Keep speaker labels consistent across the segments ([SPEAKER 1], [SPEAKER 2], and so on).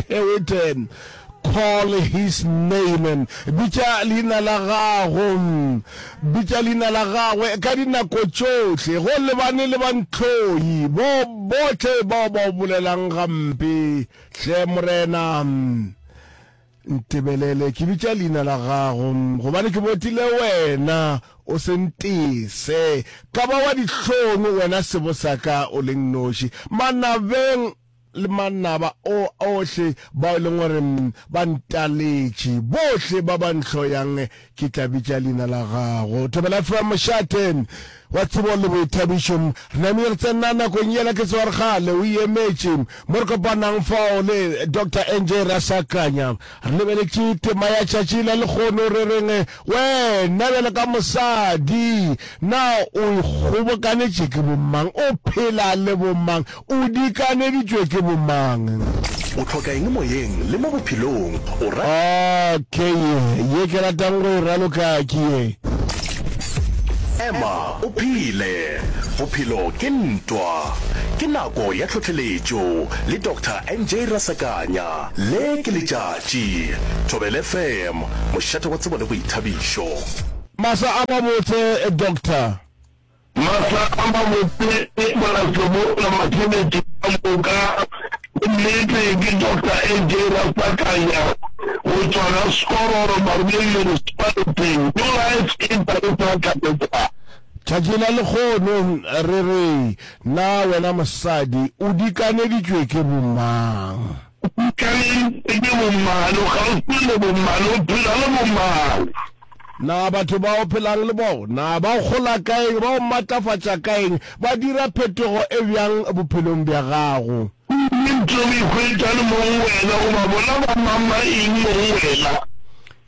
[SPEAKER 1] Hewitt, Call his name, bitša leina la gago, bitša leina la gagwe ka dinako tšohle, go lebane le bantlhoi, bo bohle bao ba o bolelang gampe. Hle Morena, ntebelele, ke bitša leina la gago, gobane ke botile wena, o se ntese ka ba wa dihlong, wena sebo sa ka o le nnoši. Manabeng le manaba o ohle bao e leng gore ba ntaletše, bohle ba ba ntlhoyang, ke tla bitša leina la gago. Thobela FM, mošate wa tsebo le boithabišo. Re namile re tsena nakong yela ke tseba re kgale o e emetše mo re kopanang fao le Doctor NJ Rasakanya. Re lebeletše tema ya tšatši la lekgono re reng wena bjalo ka mosadi na o ikgobokanetše ke bomang, o phela le bomang, o dikaneditšwe ke bomang?
[SPEAKER 2] O hloka eng moyeng le mo bophelong? O ra.
[SPEAKER 1] Okay, ye ke ratang go e raloka ke ye.
[SPEAKER 2] Ema o phele, bophelo ke ntwa. Ke nako ya tlhohleletšo le Doctor NJ Rasakanya. Le ke letšatši. Thobela FM, mošate wa tsebo le boithabišo.
[SPEAKER 1] Masa a mabotse Doctor.
[SPEAKER 3] Masa a mabotse Morasebola Matheletši ka moka. Ke nnete ke Doctor AJ Rasakanya go tšwa ga Skororo Maruleng Municipality. New Life International Cathedral.
[SPEAKER 1] Tšatši la lekgono re re, Na wena mosadi o dikaneditšwe ke bomang?
[SPEAKER 3] O dikaneditšwe ke bomang? O kgauswi le bomang? O phela le bomang?
[SPEAKER 1] Na batho ba o phelang le bona ba o kgola ka eng, ba o matlafatša ka eng, ba dira phetogo e bjang bophelong bja gago?
[SPEAKER 3] Ke eng tšeo o ikhwetša le mo go wena, goba bona ba mama eng mo go wena?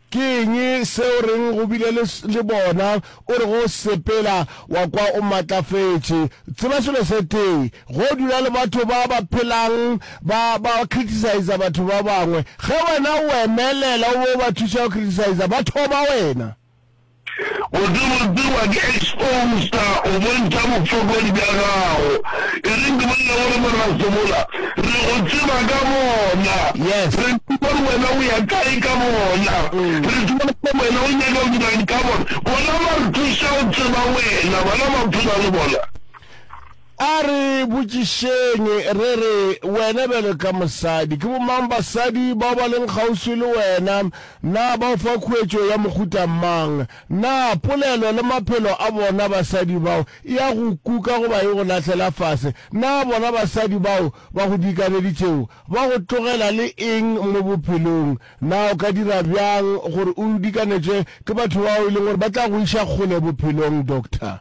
[SPEAKER 1] Ke eng se o reng go bile le, le bona, o re go sepela wa kwa o matlafetše? Tseba selo se tee, go dula le batho ba ba phelang ba, ba criticiser batho ba bangwe, ge wena o emelela o bo o ba thuša go criticiser, ba thoma wena.
[SPEAKER 3] Botsebotse wa ke exposer, o bontšha bofokodi bja gago. E reng ke bolele gore Morena Sebola, re go tseba ka bona.
[SPEAKER 1] Yes.
[SPEAKER 3] Re tseba gore wena o ya kae ka bona. Re tseba gore wena o nyaka go dirang ka bona. Bona ba re thuša go tseba wena, bona ba phela le bona.
[SPEAKER 1] A re botšišeng re re, Wena bjalo ka mosadi, ke bomang basadi bao ba leng kgauswi le wena? Na ba o fa khuetšo ya mohuta mang? Na polelo le maphelo a bona basadi bao e a go kuka goba e go lahlela fase? Na bona basadi bao ba go dikaneditšego ba go tlogela le eng mo bophelong? Na o ka dira bjang gore o dikanetšwe ke batho bao e leng gore ba tla go iša kgole bophelong, Doctor?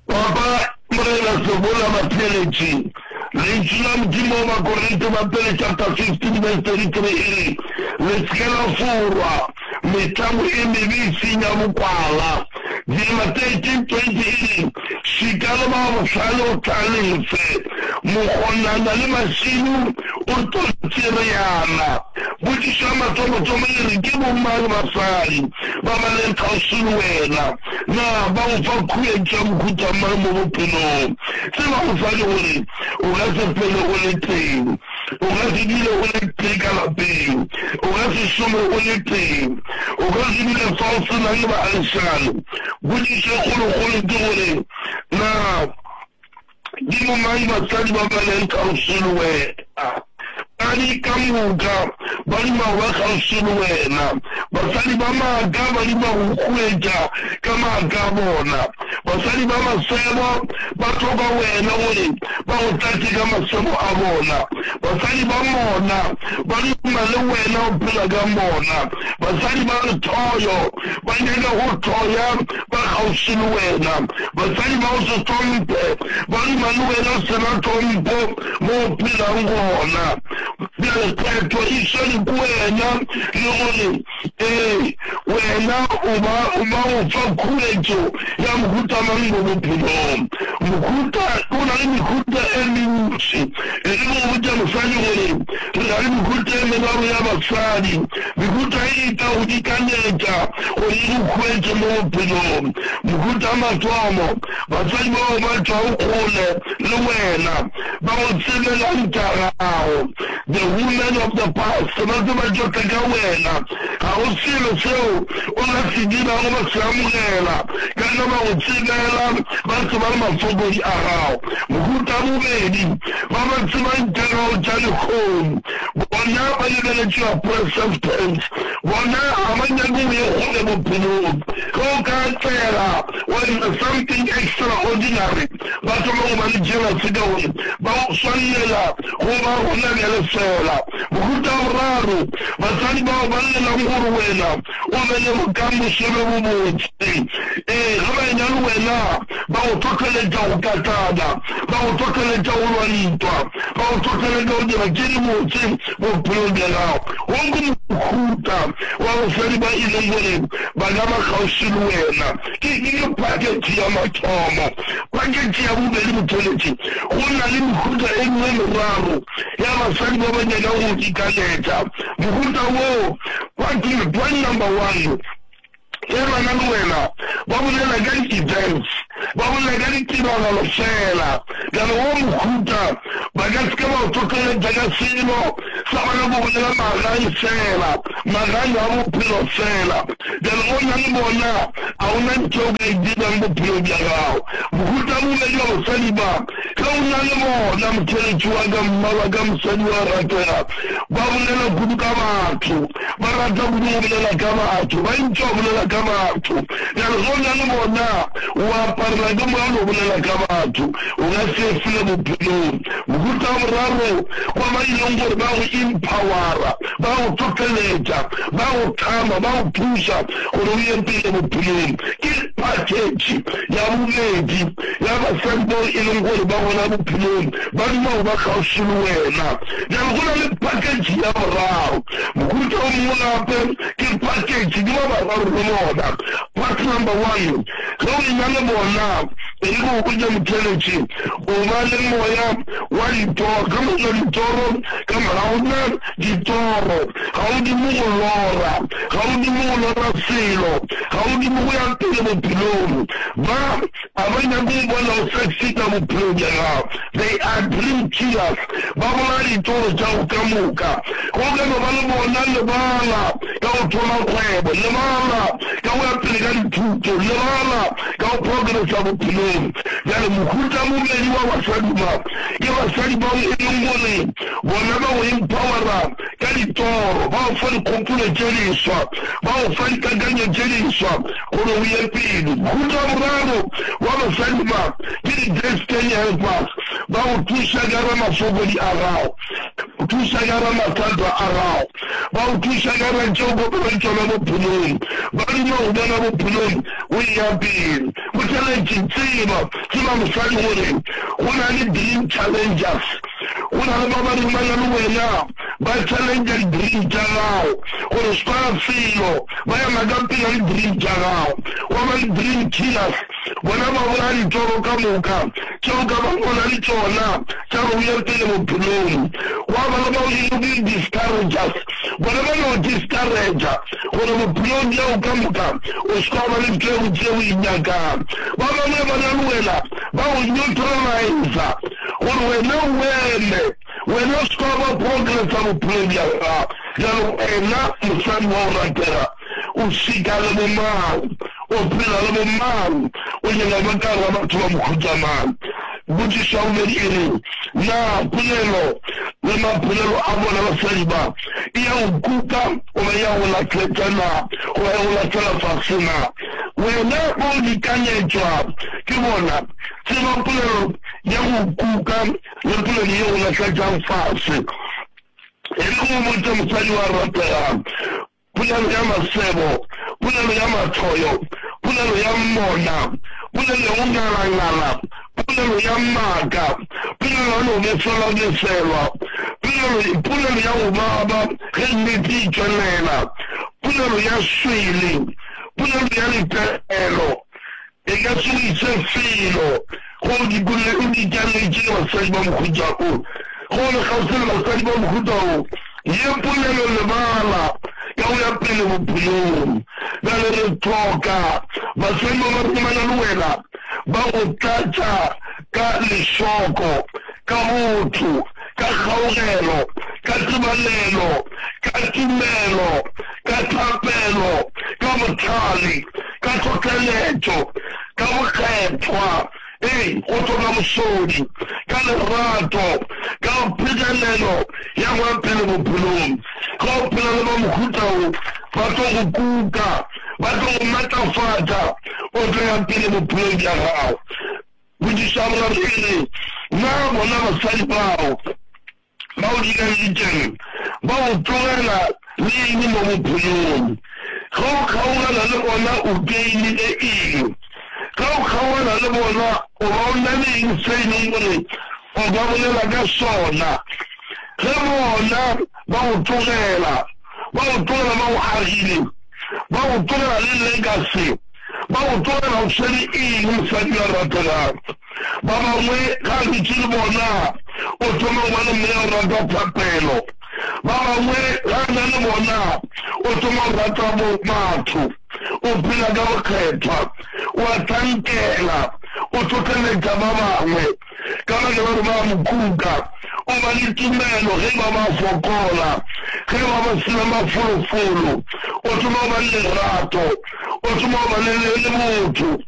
[SPEAKER 3] Papa, Morena Sebola Batheeletši, Lentšu la Modimo go Bakorinte ba Pele chapter 15 verse 33 e re, Le se ke la forwa, metlamo e mebe e senya bokwala. Diema 13:20 e re, Šika le ba bohlale o hlalefe, mokgonana le mašilo o tlo tšereyana. Potšišo ya mathomothomo e re, Ke bomang basadi ba ba leng kgauswi le wena? Na ba go fa khuetšo ya mohuta mang mo bophelong? Tseba mosadi gore o ka se phele o le tee. O ka se dule o le tee ka lapeng. O ka se šome o le tee. O ka se dule fa o se na le baagišane. Potšišo e kgolokgolo ke gore, Na Ke bomang basadi ba ba leng kgauswi le wena? Basadi ka moka ba duma go ba kgauswi le wena. Basadi ba maaka ba duma go huetša ka maaka a bona. Basadi ba masebo ba hloka wena gore ba go tlatše ka masebo a bona. Basadi ba mona ba duma le wena o phela ka mona. Basadi ba lehloyo ba nyaka go hloya ba kgauswi le wena. Basadi ba go se hlomphe ba duma le wena o se na tlhompho mo o phelang gona. Bjale phetho e swere ke wena le gore ee wena o ba o ba go fa khuetšo ya mohuta mang mo bophelong. Mohuta, go na le mehuta e mentši. E re ke go botša mosadi gore re na le mehuta e meraro ya basadi. Mehuta ye e tla go dikanetša gore e go hwetše mo bophelong. Mohuta wa mathomo, basadi bao ba tšwago kgole le wena, ba go tsebelang tša gago. The women of the past, ba tseba tšohle ka wena. Ga go selo seo o ka se dirago ba se amogela, ka ge ba go tsebela, ba tseba le mafokodi a gago. Mohuta wa bobedi, ba ba tsebang tša gago tša lehono, bona ba lebeletše your present tense, bona ga ba nyake o ye kgole bophelong. Ge o ka atlega wa dira something extraordinary, ba thoma go ba le jealousy ka gore ba go swanela go ba gona bjale feela. Mohuta wa boraro, basadi bao ba llelang gore wena o be le bokamoso bjo bobotse. Ee, ge ba ena le wena, ba go hlohleletša go katana, ba go hlohleletša go lwa ntwa, ba go hlohleletša go dira tše dibotse bophelong bja gago. Wo ke mohuta wa basadi ba e leng gore ba ka ba kgauswi le wena. Ke ke package ya mathomo. Package ya bobedi, motheeletši, go na le mehuta e mengwe e meraro ya basadi ba ba nyakago go ikanetša. Mohuta wo, point, point number one, ge ba na le wena, ba bolela ka di-events, ba bolela ka ditiragalo feela. Bjale wo mohuta, ba ka se ke ba o hlohleletša ka selo, sa bona go bolela magai feela, magai a bophelo feela. Bjale go na le bona, a o na ntho o ka e dirang bophelong bja gago. Mohuta wa bobedi wa basadi ba, ge o na le bona, motheeletši wa ka, mma wa ka, mosadi wa ratega, ba bolela kudu ka batho, ba rata kudu go bolela ka batho, ba ntši go bolela ka batho. Bjale ge o na le bona, o aparela ke moya o no bolela ka batho, o ka se fele bophelong. Mohuta wa boraro wa ba e leng gore ba go empowera, ba go hlohleletša, ba go tlhama, ba go thuša gore o ye pele bophelong ke package ya bobedi ya basadi bao e leng gore ba gona bophelong, ba duma go ba kgauswi le wena. Bjale go na le package ya boraro. Mohuta o mongwe gape ke package, ke ba bararo le bona. Part number one, ge o ena le bona, e re ke go botše motheeletši, O ba le moya wa ditoro, ka moka ditoro ka morago ga ditoro. Ga o dume go lora, ga o dume go lora selo, ga o dume go ya pele bophelong. Ba, ga ba nyake go bona o succeeda bophelong bja gago. They are dream killers. Ba bolaya ditoro tša gago ka moka. Ge o ka no ba le bona, lebala ka go thoma kgwebo, lebala ka go ya pele ka dithuto, lebala ka go progressa bophelong. Bjale mohuta bobedi wa basadi ba, ke basadi bao e leng gore bona ba go empowera ka ditoro, ba go fa dikgopolo tše diswa, ba go fa dikakanyo tše diswa gore o ye pele. Mohuta wa boraro wa basadi ba ke di-destiny helpers, ba go thuša ka ra mafokodi a gago, thuša ka ra mathata a gago, ba go thuša ka ra tšeo kopana le tšona bophelong, ba duma go bona bophelong o eya pele. Botheletši, Tseba, tseba mosadi gore go na le dream challengers. Go na le ba ba reng ba na le wena, ba challenger di-dream tša gago gore se ka felo, ba ema ka pela di-dream tša gago. Gwa ba le dream killers, bona ba bolaya ditoro ka moka tšeo ka bago o na le tšona tša gore o ye pele bophelong. Gwa ba le bao e lego di-discouragers, Bona ba no discourager gore bophelong bjao ka moka o se ka ba le ntho e botse o e nyakang. Ba bangwe ba na le wena ba go neutralizer gore wena o eme, wena o se ka ba progressa bophelong bja gago. Bjalo wena mosadi wa go ratega o šika le bo mang, o phela le bo mang, o nyaka go ba ka gare ga batho ba mohuta mang? Potšišo ya bobedi e re, Na polelo le maphelelo a bona basadi ba e ya go kuka goba e ya go lahletša na, goba ya go lahlela fase na? Wena ge o lekanyetšwa ke bona, tseba polelo ya go kuka le polelo ye go lahletšang fase. E re ke go botše mosadi wa rategang, Polelo ya masebo, polelo ya mahloyo, polelo ya mona, polelo ya go ngalangala, polelo ya maaka, polelo ya no befelwabefelwa, polelo, polelo ya go baba ge nnete e tšwelela, polelo ya swele, polelo ya letaelo, e ka se go ise felo. Ge o dikolle, o dikaletše le basadi ba mohuta o, ge o le kgauswi le basadi ba mohuta o, ye polelo lebala ka go ya pele bophelong. Bjale re hloka basadi ba ba romana le wena, ba go tlatša ka lešoko, ka botho, ka kgaugelo, ka tebalelo, ka tumelo, ka thapelo, ka bohlale, ka tlhohleletšo, ka bokgethwa, ee, go hloka bosodi, ka lerato, ka phegelelo ya go ya pele bophelong. Ge o phela le ba mohuta wo, ba tlo go kuka, ba tlo go matlafatša, o tlo ya pele bophelong bja gago. Potšišo ya boraro e re, Na bona basadi bao ba o dikaleditšeng ba o tlogela le eng mo bophelong? Ge o kgaogana le bona o gainile eng? Ge o kgaogana le bona o ba o na le eng se e leng gore o ka bolela ka sona? Ge bona ba o tlogela, ba o tlogela ba go agile, ba go tlogela le legacy, Ba go tlogela o swere eng mosadi yo a rategago? Ba bangwe ge a dutše le bona o thoma go ba le moya o rata thapelo. Ba bangwe ge a na le bona o thoma go rata batho, o phela ka bokgethwa, o a hlankela, o hlohleletša ba bangwe. Ka baka la gore ba a mo kuka, o ba le tumelo ge e ba ba fokola, ge e ba ba se na mafolofolo, o thoma go ba le lerato, o thoma go ba le, le, le botho.